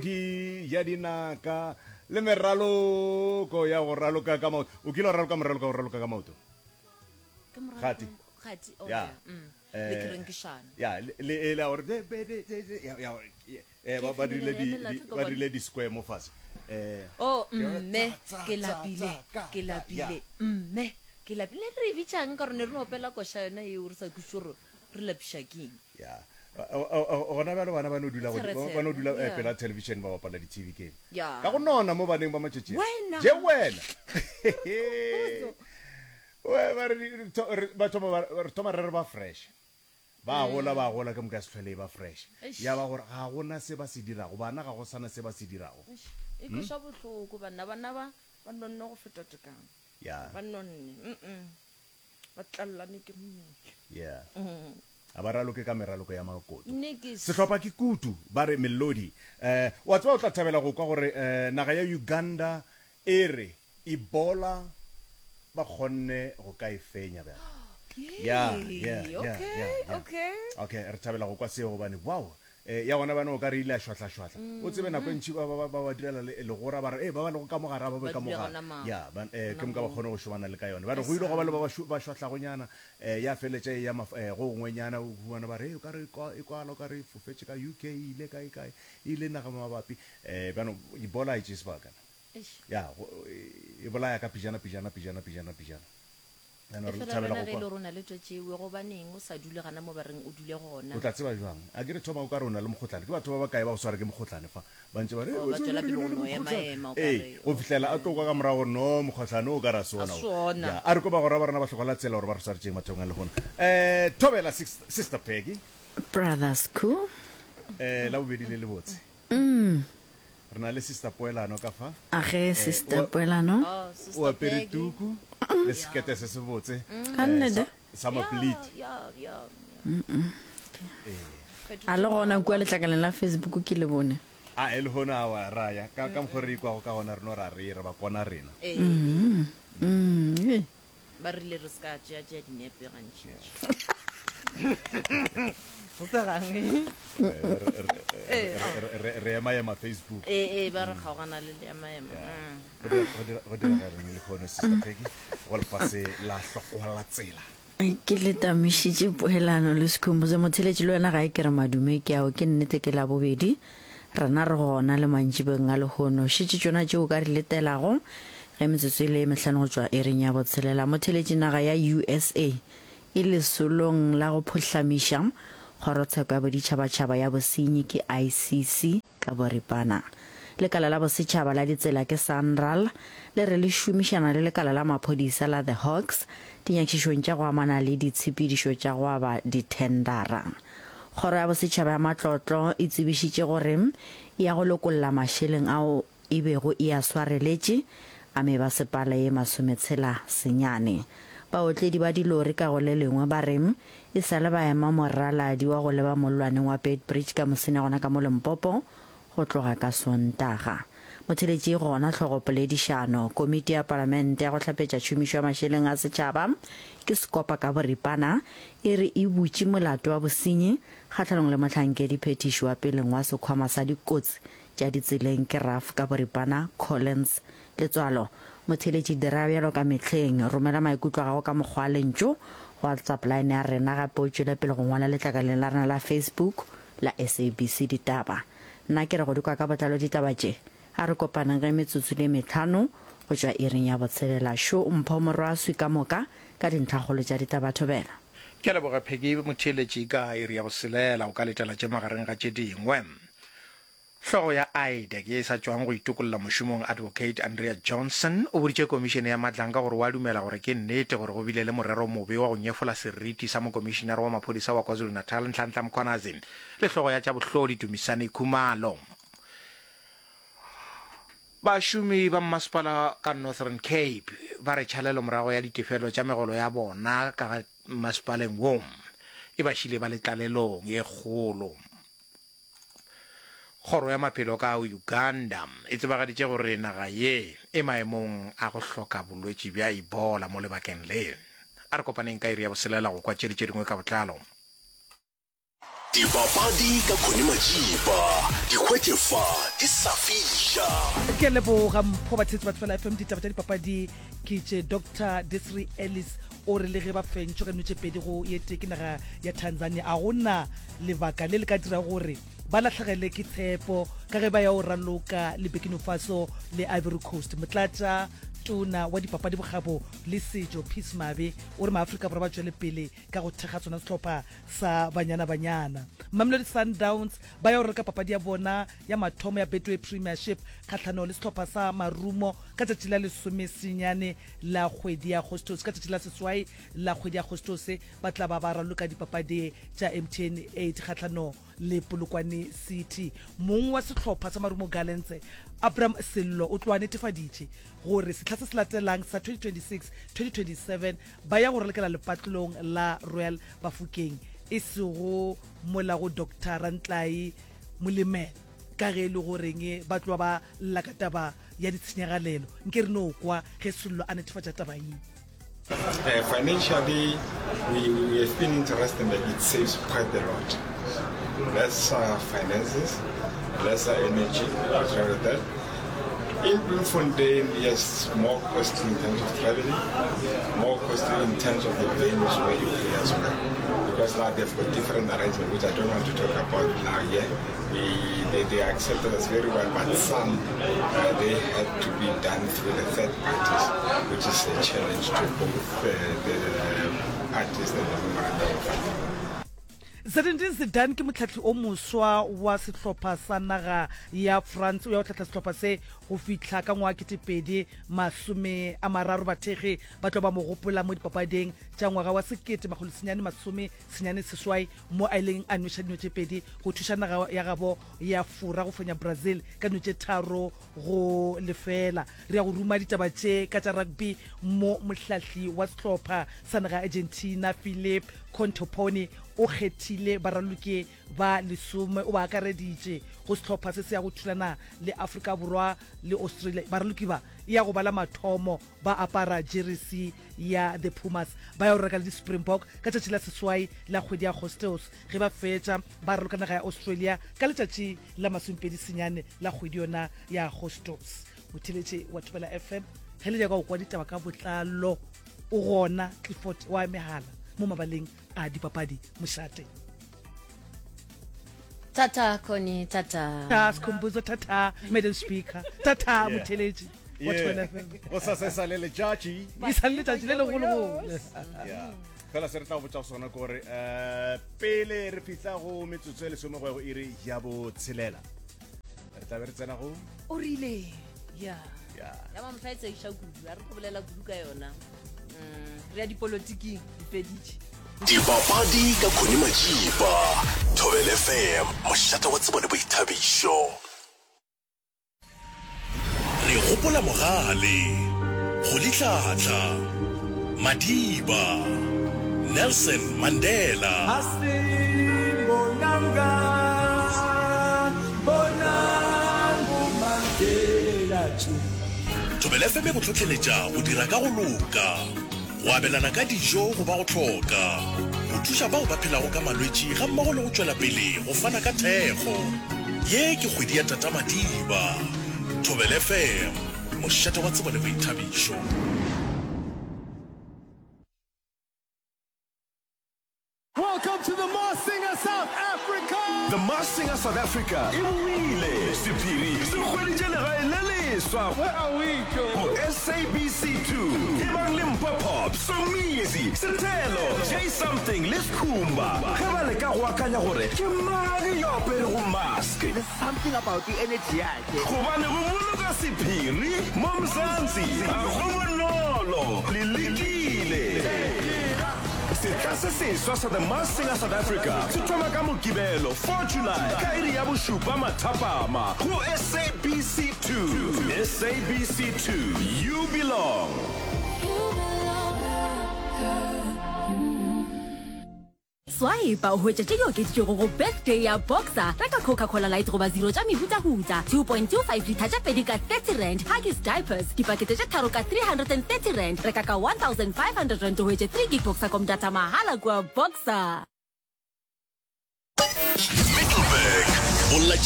Melodi ya dinaka le meraloko ya go raloka ka maoto. O kile wa raloka moraloka wa go raloka ka maoto? Kgati. Kgati, oh, Ya. yeah. Mm. Eh, Le kerenkišana. Ya, le le e la gore de- be- de- de- de- ya ya eh, ba ba dirile di di- ba dirile di square mo fase. Eh, Oh, ke yona mme tsa, tsa, ke tsa, lapile, tsa, ka, ke ka, ya. lapile, mme ke lapile. Ne re e bitšang ka gore ne re no opela koša yona eo re sa kwešiše gore re lapiša keng. Ya. Gona bjalo bana ba no dula Tshere-tshere, ba no dula eh, yeah. pela television ba bapala di-TV game. Ya. Ka go nona mo baneng ba matšatši a. Wena. Je wena. We, ba re di- tho- re- ba thoma ba- re thoma re re ba fresh. Ba gola ba gola ke moka ya se hlwele e ba fresh. Eish. Ya ba gore ga gona se ba se dirago, bana ga go sana se ba se dirago. Eish, e kweša bohloko banna bana ba ba nonne go feta tekano Ya. ba nonne mm ba tlalelane ke mmele Yeah. A ba raloke ka meraloko ya makoto. Nnikis. Sehlopha ke kutu, ba re Melodi. Eh, wa tseba o tla thabela go kwa gore eh, naga ya Uganda e re Ebola ba kgonne go ka e fenya bjale. Yeah, yeah, yeah, Okay, yeah, yeah. okay. Okay, re thabela go kwa seo gobane wow, eh, ya gona bjana o ka re ile ya šwahlašwahla. O tsebe nako e ntši ba, ba, ba, ba ba direla le, legora ba re, eh, ba ba lego ka mo gare a ba be Ba ka mo dule gare. gona ma. Ya, ba, eh, Gona ke moka ba moo. kgone go šomana le ka yona. Ba re go ile gwa ba le ba ba šo, ba šwahlagonyana, eh, ya feletša e ya maf, eh, go gongwenyana, o humana ba re, eh, o ka re e kwa, e kwala o ka re e fofetše ka UK, e ile kae, kae, e ile naga mabapi. Eh, bjano Ebola ha e tšee sebaka. Eish. Ya, go, e bolaya ka pejana, pejana, pejana, pejana, pejana. Bjano E re fela thabela wena go ge e le kwa. gore o na le twatši ewe, gobaneng o sa dule gana mo ba reng o dule gona? O tla tseba bjang? A ke re thoma o ka re o na le mokgohlane. Ke batho ba bakae ba go swara ke mokgohlane fa? Ba ntše ba re, Oh, "Ee, ba wa tseba tšwela ke pele na go le no mokgohlane." ema-ema o ka Ee, re, go fihlela a tlo kwa ka morago gore no, mokgohlane o ka re a se A ona se o. ona. Ya, a re kwe bagwera ba rena ba hloka la tsela gore ba re swaretšeng mathomong a lehono. Eh, thobela Sis- Sister Peggy. Brothers Cool. Eh, la bobedi le lebotse. Re na le Sister Poelano ka fa. A ge Eh, Sister o- Poelano. Oh, O Sister apere Peggy. tuku le sekete se sebotse. Ka eh, nnete? sa, sa maplete. Ya, ya, ya. A le gona kua letlakaleng la Facebook ke le bone. A e lehono a wa raya ka ka mokgwa re ikwago ka gona re no ra re re ba kona rena. Ee. Mm, ee. Ba rile re se ka tšea tšea dinepe gantši. Go segang. Re ema ema Facebook. Ee, ee, ba re kgaogana le le ema ema. Go dira go direga eng lehono Sister Peggy go lefase la hlokola la tsela. Ke le tamišitše poelano le Sekhumbuzo Motheletši le wena gae ke re madume ke ao ke nnete ke Labobedi rena re gona le mantšibeng a lehono šetše tšona tšeo o ka di letelago ge metsotso e le ye mehlano go tšwa iring ya botshelela Motheletši naga ya USA e lesolong la go phohlamiša kgorotsheko ya boditšhabatšhaba ya bosenyi ke ICC Ka boripana, lekala la bosetšhaba la ditsela ke SANRAL le re le šomišana le lekala la maphodisa la The Hawks dinyakišišong tša go amana le ditshepedišo tša go aba dithendara. Kgoro ya Bosetšhaba ya Matlotlo e tsebišitše gore e ya go lokolla mašeleng ao e bego e a swareletše a mebasepala ye masometshela senyane. Baotledi ba dilori ka go le lengwe ba re E sa le ba ema moraladi wa go leba mollwaneng wa Beitbridge ka mosene gona ka mo Limpopo go tloga ka Sontaga. Motheletši gona hlogopoledišano, Komiti ya Palamente ya go hlapetša tšhomišo ya mašeleng a setšhaba ke Sekopa ka boripana e re e butše molato wa bosenyi kgahlanong le mohlankedi phethiši wa peleng wa sekhwama sa dikotsi tša ditseleng ke RAF ka boripana Collins Letswalo, Motheeletši dira bjalo ka mehleng. Romela maikutlo a gago ka mokgwa wa lentšu go WhatsApp line ya rena gape o tšwele pele go ngwala letlakaleng la rena la Facebook la SABC Ditaba. Nna ke re go di kwa ka botlalo ditaba tše. A re kopaneng ge metsotso le metlhano go tšwa iring ya botshelela. Šo Mpho Morwaswi ka moka ka dintlhakgolo tša ditaba thobela. Ke a leboga Peggy Motheeletši ka iri ya boselela o ka letela tše magareng ga tše dingwe. Hlogo ya IDAC ye e sa tšwang go itokolla mošomong Advocate Andrea Johnson o boditše komišene ya Madlanga gore o a dumela gore ke nnete gore go bile le morero mobe wa go nyefola seriti sa mokomišenare wa maphodisa wa KwaZulu-Natal Nhlanhla Mkhwanazi le hlogo ya tša bohlodi Dumisani Khumalo. Bašomi ba mmasepala ka Northern Cape ba re tšhalelo morago ya ditefelo tša megolo ya bona ka mmasepaleng wo e ba šile ba le tlalelong ye kgolo. Kgoro ya Maphelo ka Uganda e tsebagaditše gore naga ye e maemong a go hloka bolwetši bja Ebola mo lebakeng le. A re kopaneng ka iri ya boselela go kwa tše le tše dingwe ka botlalo. Dipapadi ka Connie Majiba, di hwetše fa di sa fiša. Ke a leboga Mpho Batheetsi ba Thobela FM ditaba tša dipapadi ke tše Doctor Desiree Ellis o re le ge ba fentšwe ka dino tše pedi go ye tee ke naga ya Tanzania a go na lebaka le le ka dirago gore ba lahlegele ke tshepo ka ge ba ya go raloka le Burkina Faso le Ivory Coast. Motlatša tona wa dipapadi bokgabo le setšo Peace Mabe o re maAfrika Borwa ba tšwele pele ka go thekga sona sehlopha sa Banyana Banyana. Mamelodi Sundowns ba ya go reka papadi ya bona ya mathomo ya Betway Premiership kgahlanong le sehlopha sa Marumo ka tšatši la lesomesenyane la kgwedi ya Agostose. Ka tšatši la seswai la kgwedi ya Agostose ba tla ba ba raloka dipapadi tša MTN 8 kgahlanong le Polokwane City. Mong wa sehlopha sa Marumo Gallants, Abram Sello o tloa netefaditše gore sehla se se latelang sa 2026, 2027 ba ya go ralokela lepatlelong la Royal Bafokeng e sego mola go Doctor Rantlai Molemela ka ge e le goreng ba tloa ba lla ka taba ya ditshenyagalelo. Nke re no kwa ge Sello a netefatša taba ye. Uh, financially, we, we have been interested that it saves quite a lot. Lesser finances, lesser energy, like that. In Bloemfontein, yes, more costly in terms of traveling, more costly in terms of the venues where you play as well. Because now they've got different arrangements, which I don't want to talk about now here. We, they, they accepted us very well, but some, uh, they had to be done through the third parties, which is a challenge to both uh, the parties and the memorandum of agreement. Zinedine Zidane ke mohlahli o moswa wa sehlopha sa naga ya France. O ya go hlahla sehlopha se go fihla ka ngwaga 2030. Bathekgi ba tlo ba mo gopola mo dipapading tša ngwaga wa 1998 mo a ileng a nweša dino tše pedi go thuša naga ya gabo ya Fora go fenya Brazil ka dino tše 3 go lefeela. Re ya go ruma ditaba tše ka tša rugby mo mohlahli wa sehlopha sa naga ya Argentina Philippe Contepomi o kgethile baraloki ba lesome o ba akareditše go sehlopha se se ya go thulana le Afrika Borwa le Australia. Baraloki ba e ya go ba la mathomo ba apara jeresi ya The Pumas ba ya go reka le di-Springbok ka tšatši la seswai la kgwedi ya Agostose ge ba fetša ba raloka naga ya Australia ka letšatši la masomepedi senyane la kgwedi yona ya Agostose. Motheeletši wa Thobela FM ge le nyaka go kwa ditaba ka botlalo o gona Clifford wa megala mo mabaleng a dipapadi mošate. Tata Connie, tata. Ta Skhumbuzo, tata Madam Speaker, tata Motheeletši wa Thobela FM. Go sa se sa le letšatši. E sa le letšatši le legologolo. Yeah. Fela se re tla go botša sona ke gore um pele re fihla go metsotso e lesome go ya go iri ya botshelela re tla be re tsena go O rile ya ya ya mamohla e tsegiša kudu a re tlo bolela kudu ka yona mm, re ya dipolotiking di feditše Dipapadi ka Connie Majiba, Thobela FM, mošate wa tsebo le boithabišo. Re gopola Mogale, Rolihlahla, Madiba, Nelson Mandela. Thobela FM e go hlohleletša go dira ka go loka, go abelana ka dijo go ba go hloka, go thuša bao ba phelago ka malwetši gammogo le go tšwela pele go fana ka thekgo. Ye ke kgwedi ya Tata Madiba. Thobela FM, mošate wa tsebo le boithabišo. Welcome to the Masked Singer South Africa! The Masked Singer South Africa e boile! Sephiri se hweditše legae le leswa Where are we, Joe? go SABC 2. Ebang le Mpho Pop, Somizi, Sethelo, Jay Something le Skhumba ge ba leka go akanya gore ke mang yo aperego mask. There's something about the energy yakhe. Gobane go boloka sephiri mo Mzansi ga go bonolo. Le lekile. Sehla se seswa sa The Masked Singer South Africa se thoma ka Mokibelo, 4 July, ka iri ya bošupa mathapama go SABC 2. SABC 2, you belong. Swipe o hwetše tše di okeditšwego go Birthday ya Boxer. Reka Coca-Cola Light goba Zero tša mehutahuta, 2.25 litha tše pedi ka R30, Huggies diapers, dipakete tše tharo ka R330. Reka ka R1,500 o hwetše 3 gig Boxercom data mahala kua Boxer. Middelburg, Bolla.